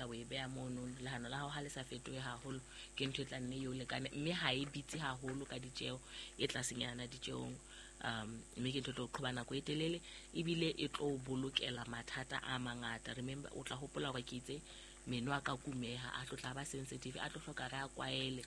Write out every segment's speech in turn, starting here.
sebedisa, o e beha mono, lehano la hao ha le sa fetohe haholo, ke ntho e tla nne eo lekane, mme ha e bitse haholo ka ditjeho, e tlasenyana ditjehong. Mme ke ntho e tlo qhoba nako e telele, ebile e tlo o bolokela mathata a mangata. Remember, o tla hopola hore ke itse meno a ka kumeha, a tlo tla ba sensitive, a tlo hloka re a kwaele.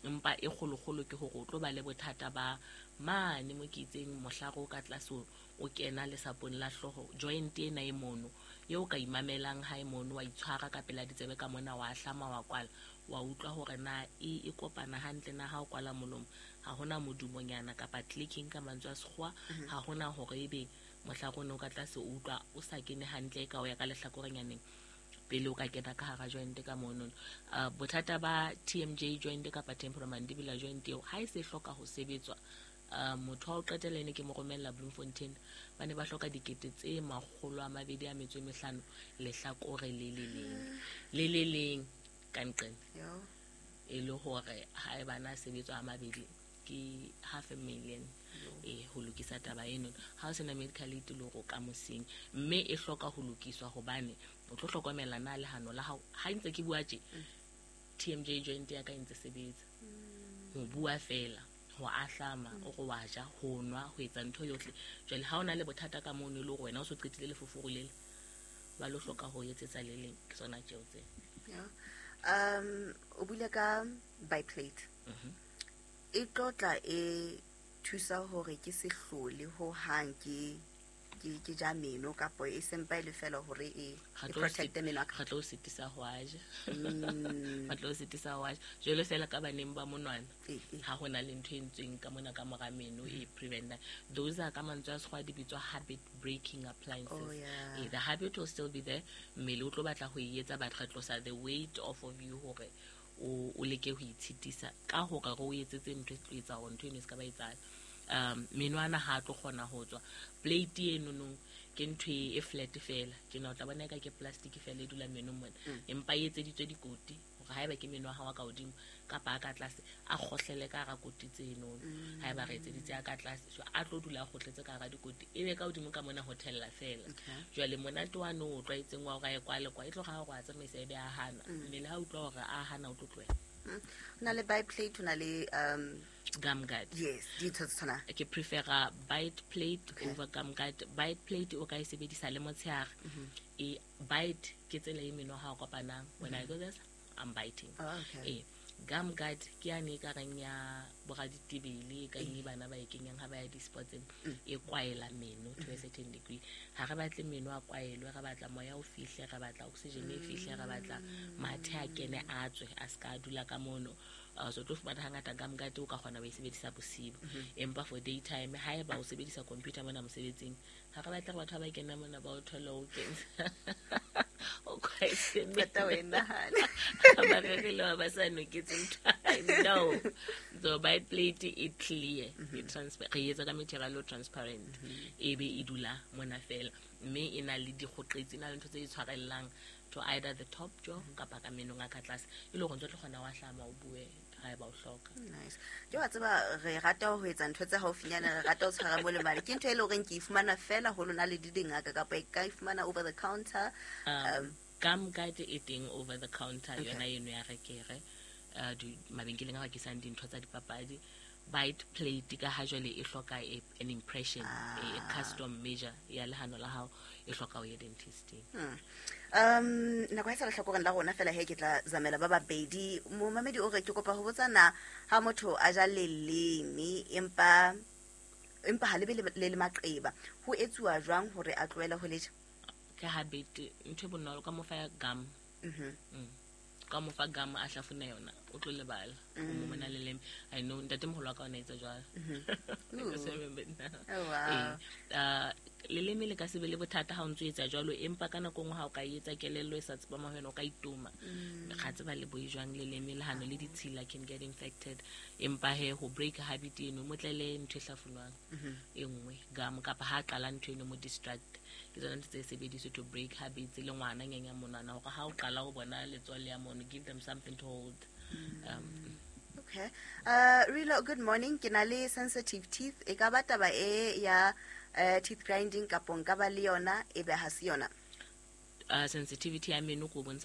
Empa e kgolokgolo ke hore o tlo ba le bothata ba mane mo ke itseng mohlare o ka tlase o kena lesapong la hlooho, joint ena e mono eo ka imamelang ha e mono, wa itshwara ka pela ditsebe ka mona, wa hlama, wa kwala, wa utlwa hore na e kopana hantle na. Ha o kwala molomo, ha hona modumonyana kapa clicking ka mantswe a sekgowa, ha hona hore ebe mohlare o ne o ka tlase o utlwa o sa kene hantle, ka o ya ka lehlakorenyaneng pele o ka kena ka hara joint ka mono. Bothata ba TMJ joint kapa temporomandibular joint eo, ha e se hloka ho sebetswa, motho wa ho qetela ene ke mo romella Bloemfontein, ba ne ba hloka 225,000 lehlakore le le leng le le leng ka nqene. E le hore ha e bana sebetswa a mabedi ke half a million e ho lokisa taba eno. Ha o sena medical aid, le hore o ka mosing, mme e hloka ho lokiswa hobane o tlo hlokomela na lehano la hao. Ha ntse ke bua tje, TMJ joint ya ka e ntse sebetsa, ho bua fela, ho ahlama, o re wa ja, ho nwa, ho etsa ntho yohle. Jwale ha o na le bothata ka mono, e le hore wena o so qetile lefoforo lele, ba lo hloka ho etsetsa le leng, ke tsona tjeo tse. O buile ka bite plate. E tlo tla e thusa hore ke se hlole ho hang ke ja meno, kapa e sempa e le fela hore e protecte meno a ka? Re tlo o sitisa ho a ja. Ba tlo o sitisa ho a ja jwalo fela ka baneng ba monwana. Ha ho na le ntho e ntsweng ka mona ka mora meno e preventa, those are, ka mantswe a sekgowa di bitswa habit breaking appliances. The habit will still be there, mmele o tlo batla ho e etsa, but re tlosa the weight off of you hore o leke ho itshitisa ka hore re o etsetse ntho e tlo etsa hore ntho eno e se ka ba etsahala. Menwana ha a tlo kgona ho tswa. Plate enonong ke ntho e flat fela tjena, o tla bona eka ke plastic fela e dula menong mona, empa e etseditswe dikoti hore haeba ke meno a hao a ka hodimo kapa a ka tlase, a kgohlele ka hara koti tsenono. Haeba re etseditse a ka tlase, so a tlo dula a kgohletse ka hara dikoti, ebe ka hodimo ka mona ho thella fela. Jwale monate wa no o tlwaetseng wa hore a ye kwa le kwa, e tlo ga hore a tsamaisa, ebe a hana. Mmele ha utlwa hore a hana, o tlo tlohela. Ho na le bite plate, ho na le gum guard. Yes, dintho tse tshwanang. Ke prefera bite plate over gum guard. Bite plate o ka e sebedisa le motshehare. E bite ke tsela e meno ha o kopanang. When I go this, I'm biting. E gum guard ke yane e ka reng ya boraditebele, e kang e bana ba e kenyang ha ba ya di-sportseng, e kwaela meno to a certain degree. Ha re batle meno a kwaelwe, re batla moya o fihle, re batla oxygen e fihle, re batla mathe a kene a tswe, a se ka a dula ka mono. So tlo fumana hangata gum guard o ka kgona ho e sebedisa bosibu, empa for daytime, haeba o sebedisa computer mona mosebetsing, ha re batle re batho ba ba kena mona ba o thole o kentse o kwaetse. Qeta o e nahana. Ba rerile ba ba sa noketse ntho. No, so bite plate e clear, e re etsa ka material o transparent, e be e dula mona fela, mme e na le dikgoqetsi, e na le ntho tse di tshwarellang to either the top jaw kapa ka menong a ka tlase, e le gore ntse o tlo kgona wa hlama, o bue haeba o hloka. Nice. Ke wa tseba, re rata ho etsa ntho tse haufinyana, re rata ho tshwara mo le mane. Ke ntho e leng horeng ke e fumana fela ho lona le di dingaka, kapa e ka e fumana over the counter? Gum guard e teng over the counter. Yona eno ya rekere mabenkeleng a rekisang dintho tsa dipapadi. Bite plate ka ha jwale e hloka an impression, a custom measure ya lehano la hao, e hloka o ye dentisting. Nako e sa lehlakoreng la rona fela he, ke tla zamela ba babedi. Momamedi o re, ke kopa ho botsa na ha motho a ja leleme empa ha lebe le le maqeba, ho etsuwa jwang hore a tlohele ho le ja? Ke habit, ntho e bonolo, ka mo fa gum. Ka mo fa gum, a hlafuna yona, o tlo lebala o mo mona leleme. I know ntatemoholo wa ka o na etsa jwalo. I just remembered now. Oh, wow. Ee. Leleme le ka se be le bothata ha o ntso etsa jwalo, empa ka nako nngwe ha o ka etsa kelello e sa tsepama ho yona, o ka itoma. Ga tseba le boi jwang leleme lehano le ditshila can get infected. Empa he, ho break habit eno, mo tlele ntho e hlafunwang e nngwe, gum, kapa ha a qala ntho eno, mo distract. Ke tsona ntho tse sebediswe to break habits. Le ngwana nyanya monwana hore ha o qala o bona letswale ya mono, give them something to hold. Okay. Rilo, good morning. Ke na le sensitive teeth. E ka ba taba e ya teeth grinding, kapo nka ba le yona e be ha se yona? Sensitivity ya meno ko bontsha.